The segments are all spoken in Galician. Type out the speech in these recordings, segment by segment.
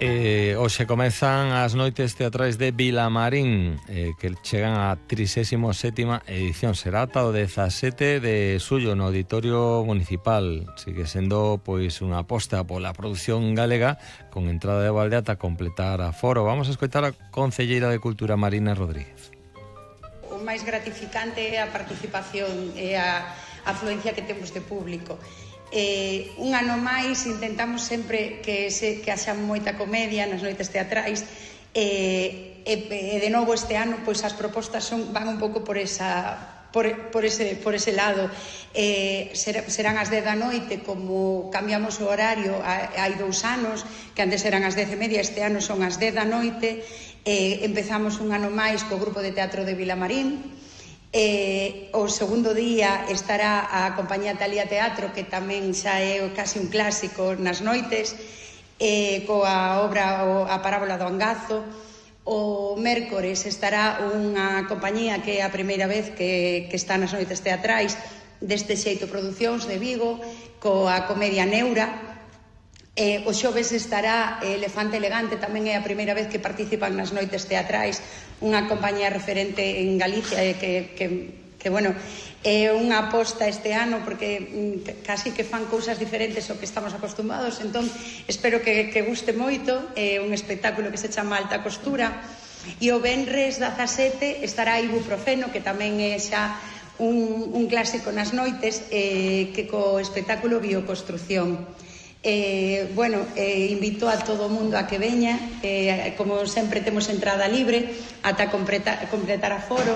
Hoxe comezan as noites teatrais de Vilamarín, que chegan á 37ª edición. Será ata o 17 de xullo no Auditorio Municipal. Sigue sendo pois unha aposta pola produción galega con entrada de balde ata completar a foro. Vamos a escoitar a concelleira de Cultura, Marina Rodríguez. O máis gratificante é a participación e a afluencia que temos de público. Un ano máis intentamos sempre que haxa moita comedia nas noites teatrais e de novo este ano pois as propostas van un pouco por ese lado. Serán as 10 da noite, como cambiamos o horario hai 2 anos, que antes eran as 10:30, este ano son as 10 da noite. Empezamos un ano máis co grupo de teatro de Vilamarín. O segundo día estará a compañía Talía Teatro, que tamén xa é casi un clásico nas noites, coa obra A Parábola do Angazo. O mércores estará unha compañía que é a primeira vez que está nas noites teatrais, Deste Xeito Producións de Vigo, coa comedia Neura. O xoves estará Elefante Elegante, tamén é a primeira vez que participan nas noites teatrais, unha compañía referente en Galicia que bueno, é unha aposta este ano porque casi que fan cousas diferentes ao que estamos acostumados, entón espero que guste moito. É un espectáculo que se chama Alta Costura. E o venres 17 estará Ibuprofeno, que tamén é xa un clásico nas noites, que co espectáculo Bioconstrucción. Invito a todo o mundo a que veña, como sempre temos entrada libre ata completar a foro.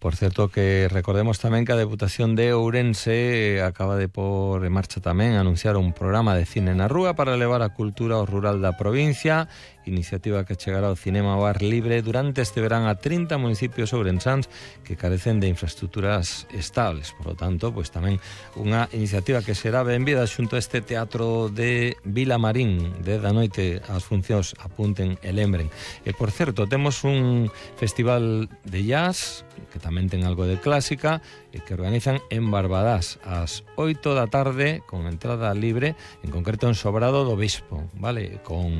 Por certo, que recordemos tamén que a Deputación de Ourense acaba de pôr en marcha tamén anunciar un programa de cine na rúa para levar a cultura ao rural da provincia, iniciativa que chegará ao cinema ao ar libre durante este verán a 30 municipios ourensáns que carecen de infraestructuras estables. Por lo tanto, pois tamén unha iniciativa que será benvida xunto a este teatro de Vilamarín. De da noite as funcións, apunten e lembren. E por certo, temos un festival de jazz que tamén ten algo de clásica e que organizan en Barbadás ás 8 da tarde con entrada libre, en concreto en Sobrado do Bispo, vale? Con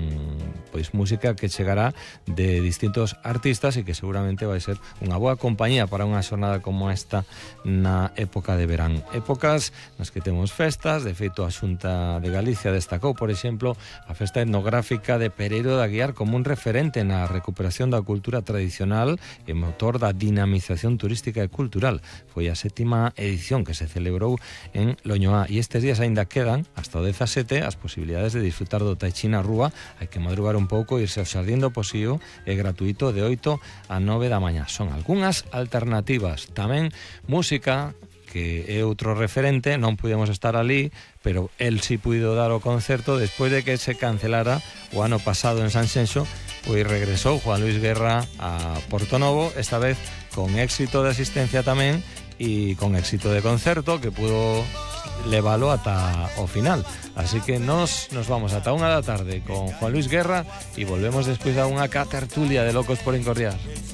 pois música que chegará de distintos artistas e que seguramente vai ser unha boa compañía para unha xornada como esta na época de verán. Épocas nas que temos festas. De feito, a Xunta de Galicia destacou, por exemplo, a festa etnográfica de Pereiro de Aguiar como un referente na recuperación da cultura tradicional e motor da dinamización turística e cultural. Foi a 7ª edición que se celebrou en Loñoá e estes días aínda quedan, hasta o 17, as posibilidades de disfrutar do Tai Chi na rúa. Hai que madrugar un pouco, irse ao Xardín do Posío, é gratuito de 8 a 9 da mañá. Son algunhas alternativas. Tamén música, que é outro referente, non pudemos estar ali, pero el si puido dar o concerto despois de que se cancelara o ano pasado en Sanxenxo. Pois regresou Juan Luis Guerra a Portonovo, esta vez con éxito de asistencia tamén e con éxito de concerto que pudo leválo ata o final. Así que nos vamos ata 1 da tarde con Juan Luis Guerra e volvemos despois a unha tertulia de Locos por Incordiar.